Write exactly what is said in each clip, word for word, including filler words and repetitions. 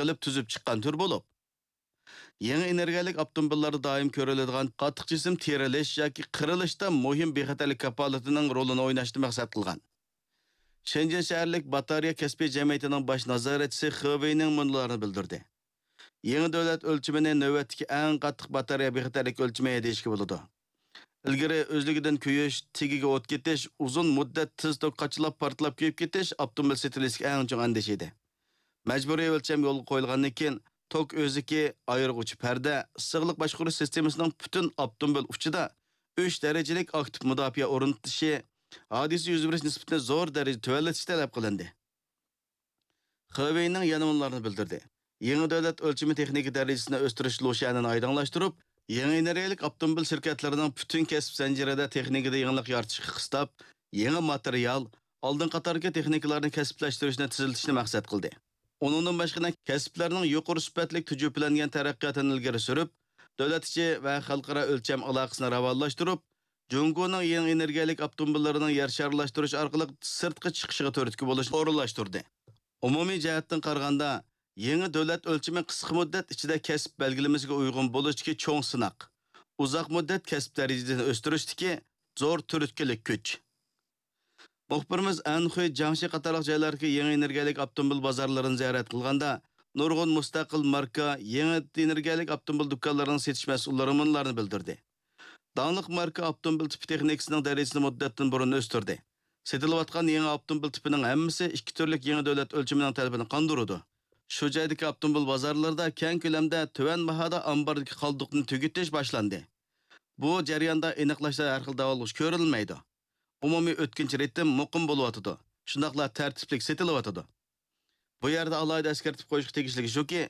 قىلىپ تۈزۈپ چىققان تۈر بولۇپ، يېڭى ئېنېرگىيەلىك ئاپتوموبىللاردا دائىم كۆرۈلىدىغان قاتتىق جىسىم تېرىلىش ياكى قىرىلىشتا مۇھىم بىخەتەرلىك كاپالىتىنىڭ رولىنى ئويناشنى مەقسەت قىلغان. شېنجېن شەھەرلىك باتارېيە كەسپىي جەمئىيىتىنىڭ باش نازارەتچىسى خې ۋېينىڭ مۇنۇلارنى بىلدۈردى. يېڭى دۆلەت ئۆلچىمىنى نۆۋەتتىكى ئەڭ قاتتىق باتارېيە بىخەتەرلىك ئۆلچىمى دېيىشكە بولىدۇ. ئىلگىرى ئۆزلۈكىدىن كۆيۈش، تېگىگە ئوت كېتىش، ئۇزۇن مۇددەت تېز توك قاچىلاپ پارتلاپ كۆيۈپ كېتىش ئاپتوموبىل سېتىۋېلىشتىكى ئەڭ چوڭ ئەندىشە ئىدى. مەجبۇرىي ئۆلچەم يولغا قويۇلغاندىن كېيىن، توك ئۆزىكى، ئايرىغۇچى پەردە، سىغلىق باشقۇرۇش سىستېمىسىنىڭ پۈتۈن ئاپتوموبىل ئۇچىدا ئۈچ دەرىجىلىك ئاكتىپ مۇداپىئە ئورنىتىلىشى ھادىسە يۈز بېرىش نىسبىتىنى زور دەرىجىدە تۆۋەنلىتىش تەلەپ قىلىندى. خې ۋېينىڭ يەنە مۇنۇلارنى بىلدۈردى. يېڭى دۆلەت ئۆلچىمى تېخنىكا دەرىجىسىنى ئۆستۈرۈش لۇشيەنىنى ئايدىڭلاشتۇرۇپ، يېڭى ئېنېرگىيەلىك ئاپتوموبىل شىركەتلىرىنىڭ پۈتۈن كەسىپ زەنجىرىدە تېخنىكىدا يېڭىلىق يارىتىشقا قىستاپ، يېڭى ماتېرىيال، ئالدىن قاتاردىكى تېخنىكىلارنى كەسىپلەشتۈرۈشنى تېزلىتىشنى مەقسەت قىلدى. ئۇنىڭدىن باشقا، كەسىپلەرنىڭ يۇقىرى سۈپەتلىك تۈجۈپىلەنگەن تەرەققىياتىنى ئىلگىرى سۈرۈپ، دۆلەت ئىچى ۋە خەلقئارا ئۆلچەم ئالاقىسىنى راۋانلاشتۇرۇپ، جۇڭگونىڭ يېڭى ئېنېرگىيەلىك ئاپتوموبىللىرىنىڭ يەر شارلاشتۇرۇش ئارقىلىق سىرتقا چىقىشىغا تۈرتكە بولۇشنى ئورۇنلاشتۇردى. ئومۇمىي جەھەتتىن قارىغاندا، يېڭى دۆلەت ئۆلچىمى قىسقا مۇددەت ئىچىدە كەسىپ بەلگىلىمىسىگە ئۇيغۇن بولۇشتىكى چوڭ سىناق، ئۇزاق مۇددەت كەسىپ دەرىجىسىنى ئۆستۈرۈشتىكى زور تۈرتكىلىك كۈچ. مۇخبىرىمىز ئەنخۇي، جياڭشى قاتارلىق جايلاردىكى يېڭى ئېنېرگىيەلىك ئاپتوموبىل بازارلىرىنى زىيارەت قىلغاندا، نۇرغۇن مۇستەقىل ماركا يېڭى ئېنېرگىيەلىك ئاپتوموبىل دۇكانلىرىنىڭ سېتىش مەسئۇللىرى مۇنۇلارنى بىلدۈردى. داڭلىق ماركا ئاپتوموبىل تىپى تېخنىكىسىنىڭ دەرىجىسىنى مۇددەتتىن بۇرۇن ئۆستۈردى. سېتىلىۋاتقان يېڭى ئاپتوموبىل تىپىنىڭ ھەممىسى ئىككى تۈرلۈك يېڭى دۆلەت ئۆلچىمىنىڭ تەلىپىنى قاندۇرىدۇ. شۇ جايدىكى ئاپتوموبىل بازارلىرىدا كەڭ كۆلەمدە تۆۋەن باھادا ئامباردىكى قالدۇقنى تۈگىتىش باشلاندى. بۇ جەرياندا ئېنىقلاشتا ھەر خىل داۋالغۇش كۆرۈلمەيدۇ. ئومۇمىي ئۆتكۈنچى رىتىم مۇقىم بولۇۋاتىدۇ. شۇنداقلا تەرتىپلىك سېتىلىۋاتىدۇ. بۇ يەردە ئالاھىدە ئەسكەرتىپ قويۇشقا تېگىشلىكى شۇكى،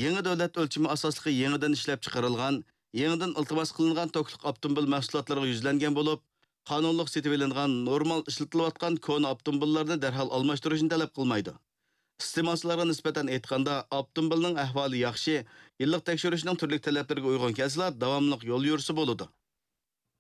يېڭى دۆلەت ئۆلچىمى ئاساسلىقى يېڭىدىن ئىشلەپچىقىرىلغان، يېڭىدىن ئىلتىماس قىلىنغان توكلۇق ئاپتوموبىل مەھسۇلاتلىرىغا يۈزلەنگەن بولۇپ، قانۇنلۇق سېتىۋېلىنغان، نورمال ئىشلىتىلىۋاتقان كونا ئاپتوموبىللارنى دەرھال ئالماشتۇرۇشنى تەلەپ قىلمايدۇ. ئىستېمالچىلارغا نىسبەتەن ئېيتقاندا، ئاپتوموبىلنىڭ ئەھۋالى ياخشى، يىللىق تەكشۈرۈشنىڭ تۈرلۈك تەلەپلىرىگە ئۇيغۇن كەلسىلا، داۋاملىق يول يۈرسە بولىدۇ.